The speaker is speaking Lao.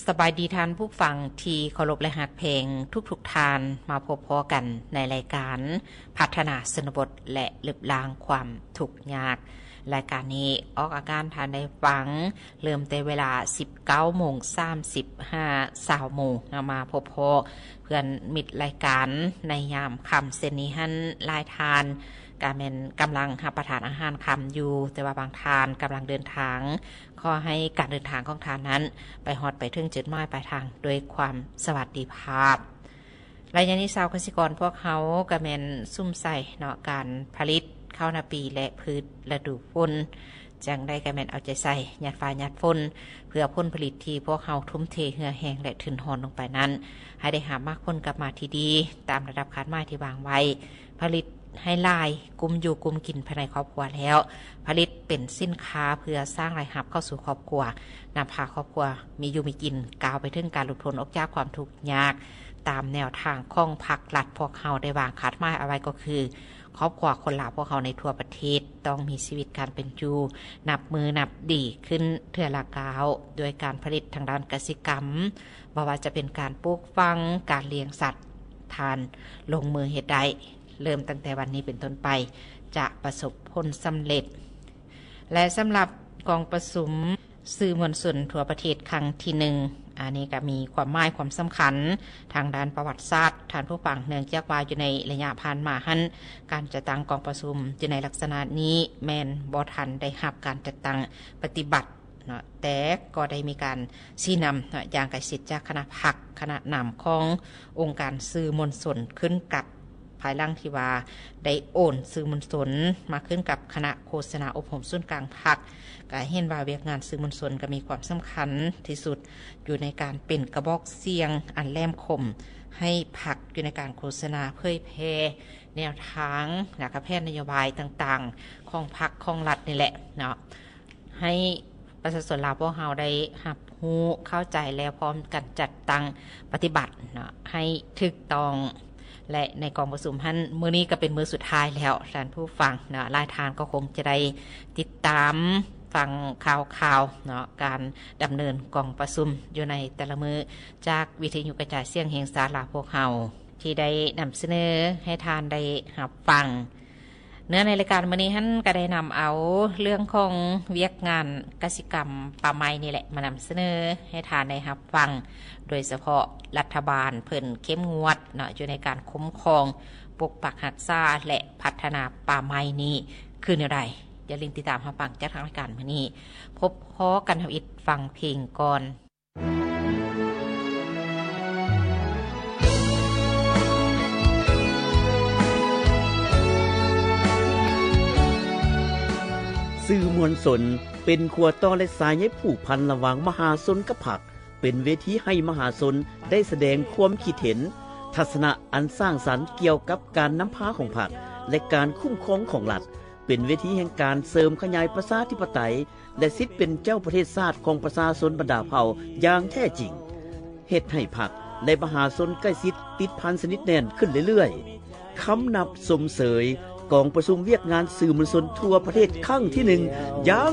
ສະບາຍດີທ່ານຜູ້ຟັງທີ່ເຄົາລົບ ແລະ ຮັກແພງທຸກໆທ່ານ, ມາພົບພໍ້ກັນໃນລາຍການພັດທະນາຊົນນະບົດ ແລະ ລຶບລ້າງຄວາມທຸກຍາກ. ລາຍການນີ້ອອກອາການທ່ານໄດ້ຟັງ ເລີ່ມແຕ່ເວລາສິບເກົ້າໂມງສາມສິບຫາຊາວໂມງເນາະ, ມາພົບພໍ້ເພື່ອນມິດລາຍການໃນຍາມຄ່ຳເຊັ່ນນີ້ຫັ້ນ, ຫຼາຍທ່ານກະແມ່ນກຳລັງຮັບປະທານອາຫານຄ່ຳຢູ່, ແຕ່ວ່າບາງທ່ານກຳລັງເດີນທາງ. ຂໍໃຫ້ການເດີນທາງຂອງທ່ານນັ້ນ ໄປຮອດໄປເຖິງຈຸດໝາຍປາຍທາງດ້ວຍຄວາມສະຫວັດດີພາບ. ໄລຍະນີ້ຊາວກະສິກອນພວກເຮົາກະແມ່ນສຸມໃສ່ເນາະ ການຜະລິດເຂົ້ານາປີ ແລະ ພືດລະດູຝົນ. ຈັ່ງໃດກະແມ່ນເອົາໃຈໃສ່ ຫຍາດຟ້າຫຍາດຝົນ ເພື່ອຜົນຜະລິດທີ່ພວກເຮົາທຸ່ມເທເຫື່ອແຮງ ແລະ ທຶນຮອນລົງໄປນັ້ນ ໃຫ້ໄດ້ຮັບໝາກຜົນກັບມາທີ່ດີ ຕາມລະດັບຄາດໝາຍທີ່ວາງໄວ້. ຜະລິດໃຫ້ຫຼາຍ, ກຸ້ມຢູ່ກຸ້ມກິນພາຍໃນຄອບຄົວແລ້ວ, ຜະລິດເປັນສິນຄ້າເພື່ອສ້າງລາຍຮັບເຂົ້າສູ່ຄອບຄົວ, ນຳພາຄອບຄົວມີຢູ່ມີກິນ, ກ້າວໄປເຖິງການຫຼຸດພົ້ນອອກຈາກຄວາມທຸກຍາກ, ຕາມແນວທາງຂອງພັກລັດພວກເຮົາໄດ້ວາງຄາດໝາຍເອົາໄວ້ກໍຄື ຄອບຄົວຄົນລາວພວກເຮົາໃນທົ່ວປະເທດຕ້ອງມີຊີວິດການເປັນຢູ່ນັບມື້ນັບດີຂຶ້ນເທື່ອລະກ້າວ, ດ້ວຍການຜະລິດທາງດ້ານກະສິກຳ, ບໍ່ວ່າຈະເປັນການປູກຝັງ, ການລ້ຽງສັດ, ທ່ານລົງມືເຮັດໄດ້. ເລີ່ມຕັ້ງແຕ່ວັນນີ້ເປັນຕົ້ນໄປ ຈະປະສົບຜົນສຳເລັດ. ແລະ ສຳລັບກອງປະຊຸມສື່ມວນຊົນທົ່ວປະເທດຄັ້ງທີໜຶ່ງ ອັນນີ້ກໍມີຄວາມໝາຍຄວາມສຳຄັນທາງດ້ານປະຫວັດສາດ, ທ່ານຜູ້ຟັງ, ເນື່ອງຈາກວ່າຢູ່ໃນໄລຍະຜ່ານມາຫັ້ນ ການຈັດຕັ້ງກອງປະຊຸມຢູ່ໃນລັກສະນະນີ້ແມ່ນບໍ່ທັນໄດ້ຮັບການຈັດຕັ້ງປະຕິບັດ ເນາະ, ແຕ່ກໍໄດ້ມີການຊີ້ນຳເນາະ ຢ່າງໃກ້ຊິດຈາກຄະນະພັກ, ຄະນະນຳຂອງອົງການສື່ມວນຊົນ ຂຶ້ນກັບ ພາຍຫຼັງທີ່ວ່າໄດ້ໂອນສື່ມວນຊົນມາຂຶ້ນກັບຄະນະໂຄສະນາອົບຮົມສູນກາງພັກ, ກໍເຫັນວ່າວຽກງານສື່ມວນຊົນກໍມີຄວາມສຳຄັນທີ່ສຸດຢູ່ໃນການເປັນກະບອກສຽງອັນແຫຼມຄົມໃຫ້ພັກ ຢູ່ໃນການໂຄສະນາເຜີຍແຜ່ແນວທາງ ແລະ ກະແຜນນະໂຍບາຍຕ່າງໆຂອງພັກຂອງລັດນີ້ແຫຼະເນາະ. ໃຫ້ປະຊາຊົນລາວພວກເຮົາໄດ້ຮັບຮູ້ເຂົ້າໃຈ ແລ້ວພ້ອມກັນຈັດຕັ້ງປະຕິບັດເນາະ ໃຫ້ຖືກຕ້ອງ. ແລະ ໃນກອງປະຊຸມຫັ້ນ ມື້ນີ້ກໍເປັນມື້ສຸດທ້າຍແລ້ວ ທ່ານຜູ້ຟັງເນາະ, ຫຼາຍທ່ານກໍຄົງຈະໄດ້ຕິດຕາມຟັງຂ່າວຄາວເນາະ ການດຳເນີນກອງປະຊຸມຢູ່ໃນແຕ່ລະມື້ ຈາກວິທະຍຸກະຈາຍສຽງແຫ່ງຊາດລາວພວກເຮົາ ທີ່ໄດ້ນຳສະເໜີໃຫ້ທ່ານໄດ້ຮັບຟັງ. ເນື້ອໃນລາຍການມື້ນີ້ຫັ້ນ ກໍໄດ້ນຳເອົາເລື່ອງຂອງວຽກງານກະສິກຳປ່າໄມ້ນີ້ແຫຼະ ມານຳສະເໜີໃຫ້ທ່ານໄດ້ຮັບຟັງ, ໂດຍສະເພາະລັດຖະບານເພິ່ນເຂັ້ມງວດເນາະ ຢູ່ໃນການຄຸ້ມຄອງ, ປົກປັກຮັກສາ ແລະ ພັດທະນາປ່າໄມ້ນີ້ຄືແນວໃດ. ຢ່າລືມຕິດຕາມຮັບຟັງຈາກທາງລາຍການມື້ນີ້. ພົບພໍ້ກັນທຳອິດ ຟັງເພງກ່ອນ. ສື່ມວນຊົນເປັນຂົວຕໍ່ ແລະ ສາຍໃຍຜູກພັນລະຫວ່າງມະຫາຊົນກັບພັກ, ເປັນເວທີໃຫ້ມະຫາຊົນໄດ້ສະແດງຄວາມຄິດເຫັນ, ທັດສະນະອັນສ້າງສັນກ່ຽວກັບການນຳພາຂອງພັກ ແລະ ການຄຸ້ມຄອງຂອງລັດ, ເປັນເວທີແຫ່ງການເສີມຂະຫຍາຍປະຊາທິປະໄຕ ແລະ ສິດເປັນເຈົ້າປະເທດຊາດຂອງປະຊາຊົນບັນດາເຜົ່າຢ່າງແທ້ຈິງ, ເຮັດໃຫ້ພັກ ແລະ ມະຫາຊົນໃກ້ຊິດຕິດພັນສະໜິດແໜ້ນຂຶ້ນເລື້ອຍໆ. ຄຳນັບຊົມເຊີຍກອງປະຊຸມວຽກງານສື່ມວນຊົນທົ່ວປະເທດຄັ້ງທີໜຶ່ງຢ່າງ